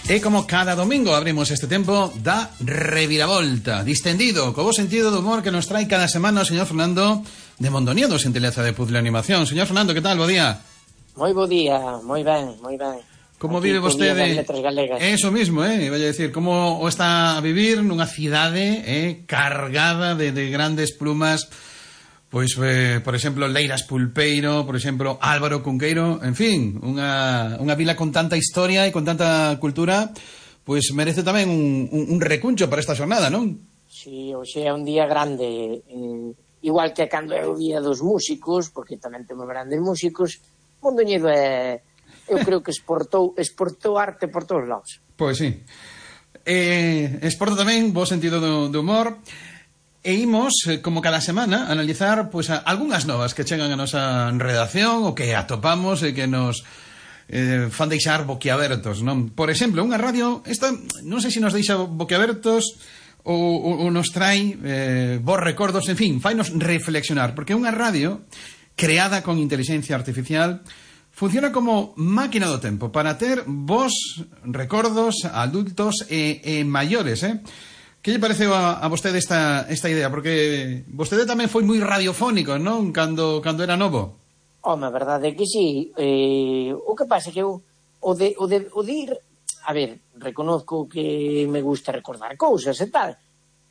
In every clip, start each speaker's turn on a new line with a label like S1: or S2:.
S1: E como cada domingo abrimos este tempo da reviravolta distendido, co bo sentido do humor que nos trae cada semana o señor Fernando de Mondoñedo, xentileza de Puzzle Animación. Señor Fernando, que tal? Bo día.
S2: Moi bo día, moi ben, moi ben.
S1: Como
S2: aquí
S1: vive vostede?
S2: Letras galegas.
S1: Eso mismo, vai a decir, como o está a vivir nunha cidade cargada de grandes plumas. Pois, por exemplo, Leiras Pulpeiro, por exemplo, Álvaro Cunqueiro, en fin, unha vila con tanta historia e con tanta cultura, pois merece tamén un recuncho para esta xornada, non?
S2: Si, hoxe é un día grande, igual que cando é o día dos músicos, porque tamén temos grandes músicos, Mondoñedo eu creo que exportou arte por todos lados.
S1: Pois sí. Exporta tamén bo sentido do humor. E imos, como cada semana, analizar pois, algunhas novas que chegan a nosa redacción ou que atopamos e que nos fan deixar boquiabertos, non? Por exemplo, unha radio, esta non sei se nos deixa boquiabertos ou nos trai bons recordos, en fin, fainos reflexionar, porque unha radio creada con inteligencia artificial funciona como máquina do tempo para ter bons recordos adultos e maiores, Que lle pareceu a vostede esta idea? Porque vostede tamén foi moi radiofónico, non? Cando era novo.
S2: Home, a verdade é que sí. O que pasa é que eu o de ir... A ver, reconozco que me gusta recordar cousas e tal,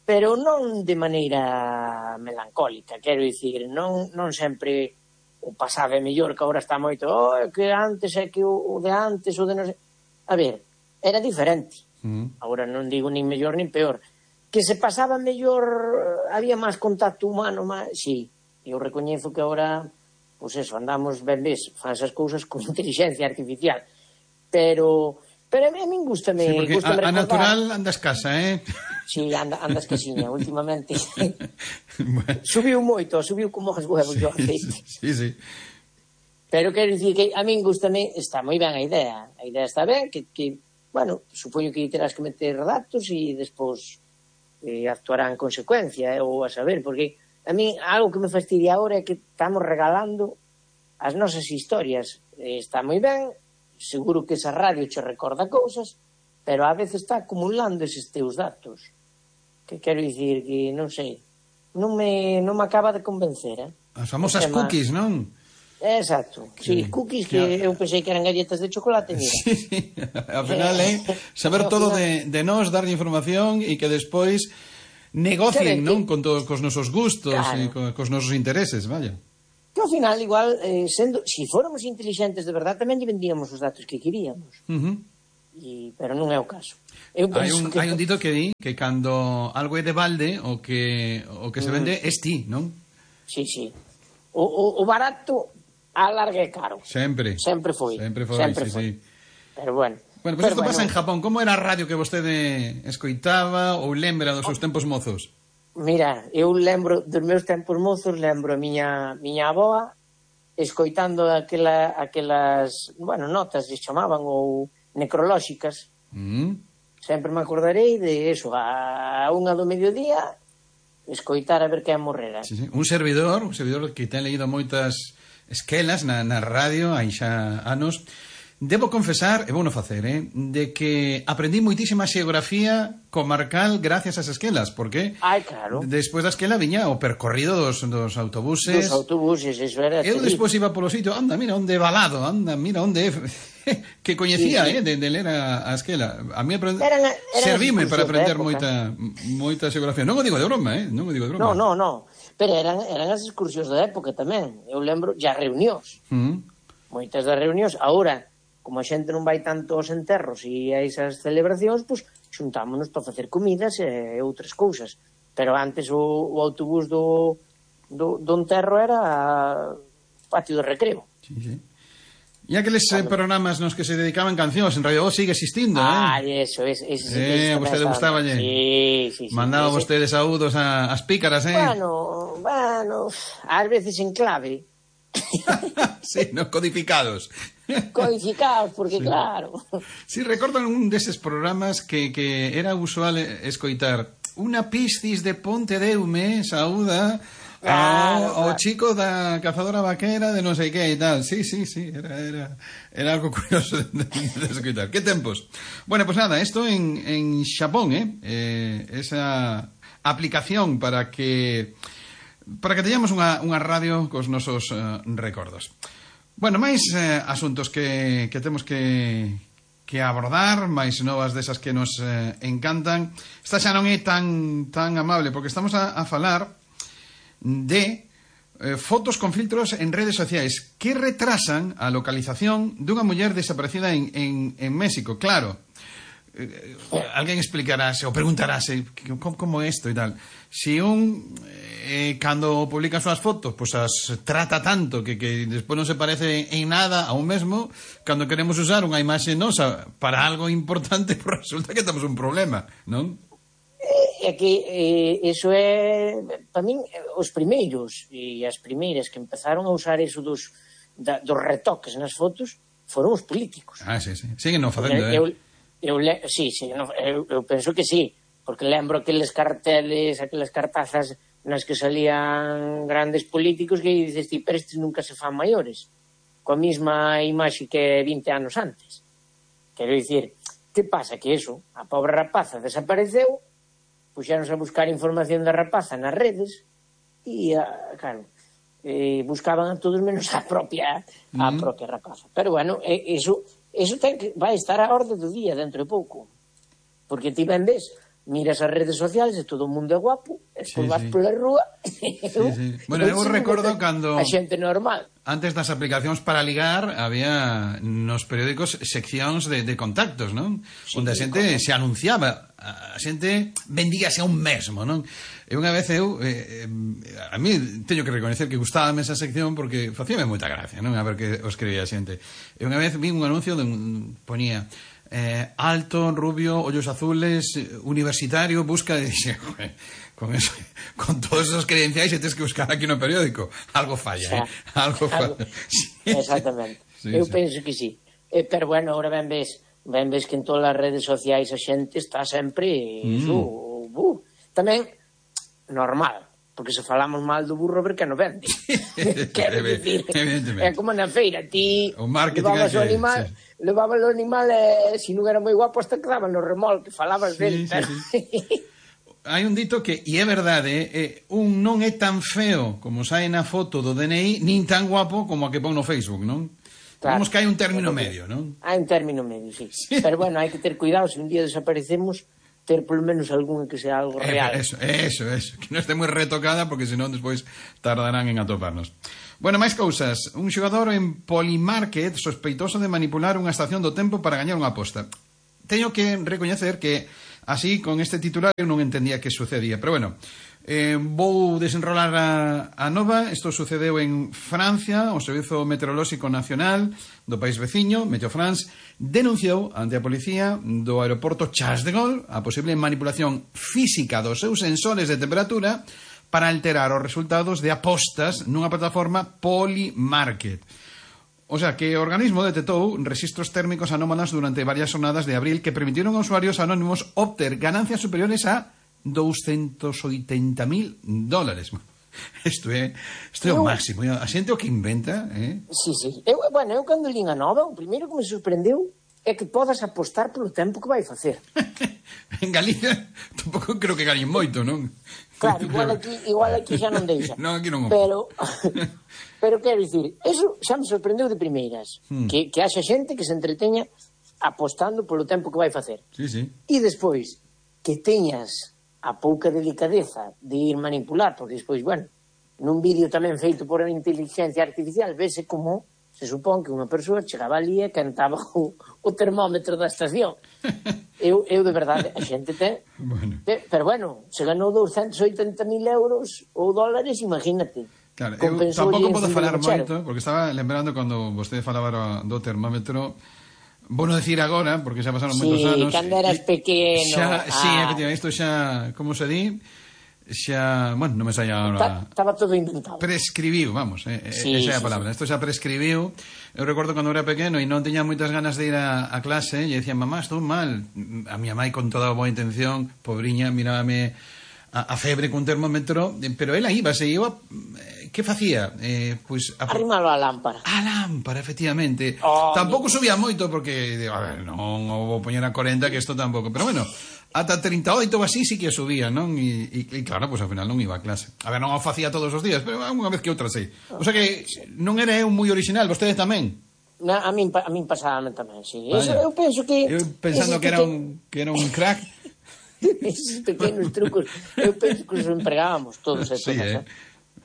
S2: pero non de maneira melancólica. Quero dicir, non sempre o pasado é mellor, que agora está moito que antes é que o de antes, o de non sei... A ver, era diferente. Agora non digo nin mellor nin peor. Que se pasaba mellor, había máis contacto humano, sí, eu recoñezo que agora, pois eso, andamos, ben ves, fan esas cousas con inteligencia artificial, pero a min gustame...
S1: Sí, porque a natural anda escasa,
S2: Sí, anda escasiña, últimamente. Bueno. Subiu como os huevos do aceite.
S1: Sí.
S2: Pero quero dicir que a min gustame, está moi ben a idea está ben, que bueno, supoño que terás que meter datos e despois... actuará en consecuencia, ou a saber, porque a mí algo que me fastidia agora é que estamos regalando as nosas historias. Está moi ben, seguro que esa radio che recorda cousas, pero a veces está acumulando eses teus datos. Que quero dicir que, non sei, non me acaba de convencer,
S1: As famosas cookies, non?
S2: Exacto, sí, cookies que eu pensei que eran galletas de chocolate, mira.
S1: Sí, ao final saber todo de nós, darlle información e que despois negocien, non? Con todos cos nosos gustos e cos nosos intereses, vaya.
S2: Que ao final, igual, si fóramos inteligentes de verdad, tamén lle vendíamos os datos que queríamos. Pero non é o caso.
S1: Hai un dito que di que cando algo é de balde, o que se vende es ti, non?
S2: Sí. O barato a larga é caro.
S1: Sempre foi, sí.
S2: Pero bueno.
S1: Bueno, pues isto pasa en Japón. Como era a radio que vostede escoitaba ou lembra dos seus tempos mozos?
S2: Mira, eu lembro dos meus tempos mozos, lembro a miña avoa escoitando aquelas, bueno, notas se chamaban ou necrolóxicas. Sempre me acordarei de eso, a 1 do mediodía escoitar a ver quen morrera.
S1: Sí. Un servidor que ten leído moitas esquelas na radio hai xa anos. Debo confesar, e vou non facer, de que aprendí moitísima xeografía comarcal gracias ás esquelas, porque
S2: claro.
S1: Despois da esquela viña o percorrido dos autobuses.
S2: Dos autobuses, eso era.
S1: Eu despois iba polo sitio, mira onde Balado, mira onde que coñecía, de ler a esquela. A mí servime para aprender moita xeografía. Non o digo de broma, non o digo de broma.
S2: No. Pero eran as excursións da época tamén. Eu lembro, já reunións. Moitas das reunións. Agora, como a xente non vai tanto aos enterros e a esas celebracións, pois xuntámonos para facer comidas e outras cousas. Pero antes o autobús do enterro era patio de recreo.
S1: Sí. E aqueles programas nos que se dedicaban cancións en Radio Voz sigue existindo,
S2: Eso.
S1: A vostede gustaballe?
S2: Sí.
S1: Mandaba vostede saúdos ás pícaras,
S2: Bueno, ás veces en clave.
S1: Sí, non codificados.
S2: Codificados, porque claro.
S1: Si, recordan un deses programas que era usual escoitar: unha piscis de Pontedeume saúda O chico da cazadora vaquera de non sei que e tal. Sí, era algo curioso de escutar. Que tempos. Bueno, pues nada, esto en Xapón, esa aplicación para que teñamos unha radio cos nosos recordos. Bueno, máis asuntos que temos que abordar, máis novas desas que nos encantan. Esta xa non é tan amable, porque estamos a falar de fotos con filtros en redes sociais que retrasan a localización dunha muller desaparecida en México. Claro, alguén explicarase ou preguntarase como isto e tal. Si cando publica as súas fotos pois as trata tanto que despois non se parece en nada a un mesmo, cando queremos usar unha imaxe nosa para algo importante, pois resulta que temos un problema, non?
S2: É que iso é, para min, os primeiros e as primeiras que empezaron a usar iso dos retoques nas fotos foron os políticos.
S1: Sí. Siguen non facendo,
S2: eu penso que sí, porque lembro aqueles carteles, aquelas cartazas nas que salían grandes políticos que dices ti, pero estes nunca se fan maiores, coa mesma imaxe que 20 anos antes. Quero dicir, que pasa? Que eso, a pobre rapaza desapareceu, puxéronse a buscar información da rapaza nas redes e, claro, buscaban a todos menos a propia rapaza. Pero, bueno, eso vai estar a orde do día dentro de pouco. Porque ti vendes, miras as redes sociais e todo o mundo é guapo, e despois vas pola rúa.
S1: Bueno, eu recordo cando
S2: a xente normal.
S1: Antes das aplicacións para ligar había nos periódicos seccións de contactos, non? Onde a xente se anunciaba, a xente vendíase a un mesmo, non? E unha vez a mí teño que recoñecer que gustábame esa sección porque facíame moita gracia, non? A ver que os escribía a xente. E unha vez vi un anuncio ponía alto, rubio, ollos azules, universitario, busca de... con todos esos credenciais e tens que buscar aquí no periódico. Algo falla, algo falla.
S2: Exactamente. Eu penso que sí. Pero bueno, ahora ben ves que en todas as redes sociais a xente está sempre tamén normal, porque se falamos mal do burro, ver que non vende. Quero dicir, é como na feira, ti levabas o animal, levabas o animal e se non era moi guapo hasta quedaban no remolque, falabas del.
S1: Hai un dito que, e é verdade, un non é tan feo como sae na foto do DNI, nin tan guapo como a que pon no Facebook, non? Claro. Vamos que hai un término medio, non?
S2: Hai un término medio, sí. Pero bueno, hai que ter cuidado, se un día desaparecemos, ter polo menos algún que sea algo real.
S1: Eso, que non este moi retocada, porque senón despois tardarán en atoparnos. Bueno, máis cousas. Un xogador en Polymarket sospeitoso de manipular unha estación do tempo para gañar unha aposta. Teño que recoñecer que así, con este titular, eu non entendía que sucedía. Pero bueno, vou desenrolar a nova. Isto sucedeu en Francia. O Servizo Meteorolóxico Nacional do país veciño, Meteo France, denunciou ante a policía do aeroporto Charles de Gaulle a posible manipulación física dos seus sensores de temperatura para alterar os resultados de apostas nunha plataforma Polymarket. O sea, que o organismo detectou registros térmicos anómalos durante varias jornadas de abril que permitiron a usuarios anónimos obter ganancias superiores a $280,000. Isto é o máximo. A xente o que inventa,
S2: Sí. Eu cando lín a nova, o primeiro que me sorprendeu é que podas apostar polo tempo que vai facer.
S1: En Galicia tampouco creo que gañen moito, non?
S2: Claro, igual aquí xa non deixa.
S1: Non, aquí non.
S2: Pero quero dicir, eso xa me sorprendeu de primeiras, que haxa xente que se entreteña apostando polo tempo que vai facer.
S1: Sí.
S2: E despois, que teñas a pouca delicadeza de ir manipular, porque despois, bueno, nun vídeo tamén feito por inteligencia artificial, vese como se supón que unha persoa chegaba ali e cantaba o termómetro da estación. Eu de verdade, a xente ten...
S1: Bueno.
S2: Pero bueno, se ganou 280,000 euros ou dólares, imagínate.
S1: Claro, eu tampouco podo falar moito, porque estaba lembrando cando vostede falaba do termómetro. Vou non decir agora, porque xa pasaron moitos anos.
S2: Sí, cando eras pequeno.
S1: Sí, efectivamente, isto xa, como se di, xa, bueno, non me saia agora.
S2: Estaba todo inventado.
S1: Prescribiu, vamos, esa é a palabra. Isto xa prescribiu. Eu recordo cando era pequeno e non teña moitas ganas de ir a clase e dicía, mamá, estou mal. A miña mãe, con toda a boa intención, pobriña, mirábame a febre cun termómetro, pero ela iba, que facía? Pois
S2: arrimalo á lámpara.
S1: A lámpara, efectivamente. Tampouco subía moito porque, a ver, non o vou poñer a 40, que isto tampouco, pero bueno, ata 38 ou así sí que subía, non? E claro, pois ao final non iba a clase. A ver, non o facía todos os días, pero unha vez que outra sí. O sea que non era eu moi original, vostede tamén.
S2: A min pasábame tamén, sí. Eu penso que...
S1: Eu pensando que era un crack.
S2: Esos pequenos trucos, eu penso que os empregábamos todos e todas,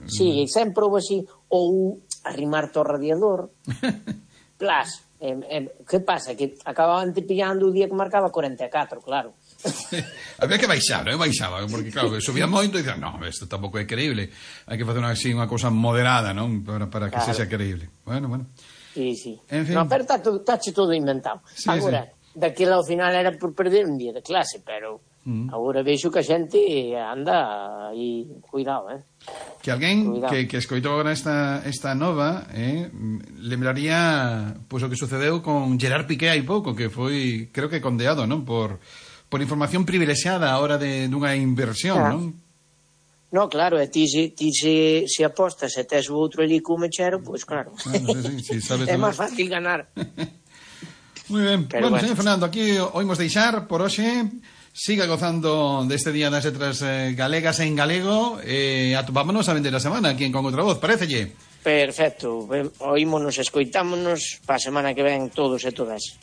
S2: Sí, sempre houve así, ou arrimarte ao radiador, plas, que pasa? Que acababan te pillando o día que marcaba 44, claro.
S1: Había que baixar, baixaba, porque claro, subía moito e dicía, no, isto tampouco é creíble, hai que facer unha cousa moderada, non? Para que sexa creíble. Bueno.
S2: Sí.
S1: En fin.
S2: No, pero tache todo inventado.
S1: Sí,
S2: agora, daquela ao final era por perder un día de clase, pero agora vexo que a xente anda aí, cuidado,
S1: Que alguén que escoitou agora esta nova lembraría pois o que sucedeu con Gerard Piqué hai pouco, que foi, creo que condeado, non? Por información privilexiada a hora dunha inversión, non?
S2: No, claro, e ti se apostas e tes o outro ali co mechero, pois claro.
S1: Sí, sabes,
S2: é máis fácil ganar.
S1: Moi ben.
S2: Bueno,
S1: señor Fernando, aquí oímos deixar por hoxe. Siga gozando deste Día das Letras Galegas en galego e atopámonos a vender a semana aquí en Con Outra Voz, parecelle?
S2: Perfecto, oímonos, escoitámonos para a semana que ven todos e todas.